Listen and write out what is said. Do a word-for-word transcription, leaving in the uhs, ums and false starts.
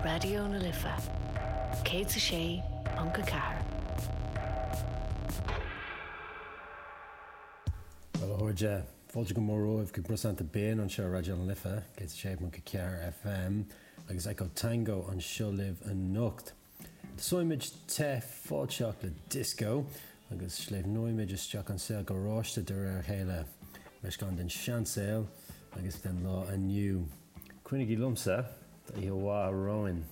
Raidió na Life céad a sé ponc a ceathair. Bhuel, a chairde, fáilte go mór romhaibh go Brosanta Binn anseo ar Raidió na Life, céad a sé ponc a ceathair F M, agus Echo Tango anseo libh anocht. Tosóimid te fáilteach le disco agus sléibhneoimid isteach an saol garáiste de réir a chéile, meascán den seansaol agus den lá inniu. Coinnigí liomsa, tá oíche mhaith romhainn.